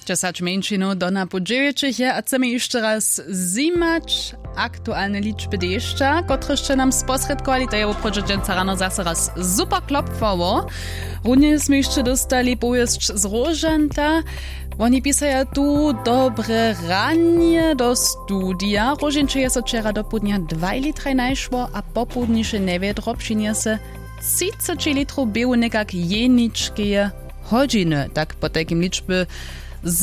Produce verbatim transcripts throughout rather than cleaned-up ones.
Dźesać mjeńšinow do napoł dźewjećich je a chcemy hišće raz zjimać aktualne ličby dešća, kotrež sće nam sposrědkowali. To je woprawdźe dźensa rano zaso raz super klopwało. Runje smy hišće dóstali powěsć z róžanta. Woni pisaja tu dobre ranje do studija. Róžinče je so wčera dopołdnja dwaj litraj najšło a popołdniše njewjedro přinjese třiceći litrow běhu někak jeničkeje hodźiny. Tak potajkim ličby z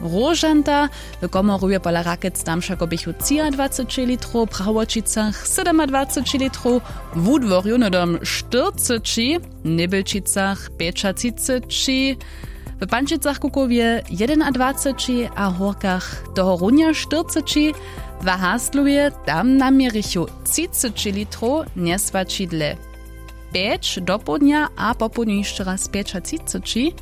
róžanta. W komorju je pola rakec tam wšako běchu třiadwaceći litrow, w prawoćicach sydomadwaceći litrow, w wudworju hnydom štyrceći, w njebelčicach pjećatřiceći, w pančicach kukowje jedynadwaceći a hórkach tohorunja štyrceći. W haslowje tam naměrichu třiceći litrow njeswaćidle pjeć dopołdnja a popołdnju hišće raz pjećatřiceći,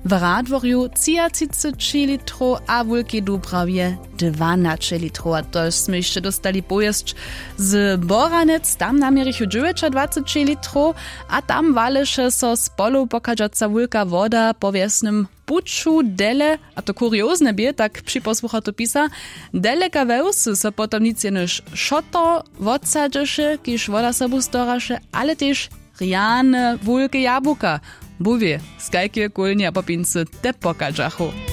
w radworju třiatřiceći litrow a wulkej dubrawje dwanaće litrow. A to smy hišće dóstali powěsć z boranec, tam naměrichu dźewjećadwaceći litrow. A tam waleše so z polow pochadźaca wulka woda po wjesnym puću dele. A to kuriozne bě, tak připosłucha to pisa, deleka we wsy so potom nic jenož šotor wotsadźeše, kiž woda sobu storaše, ale tež rjane wulke jabłuka. Bóh wě, z kajkeje kólnje a popincy te pochadźachu.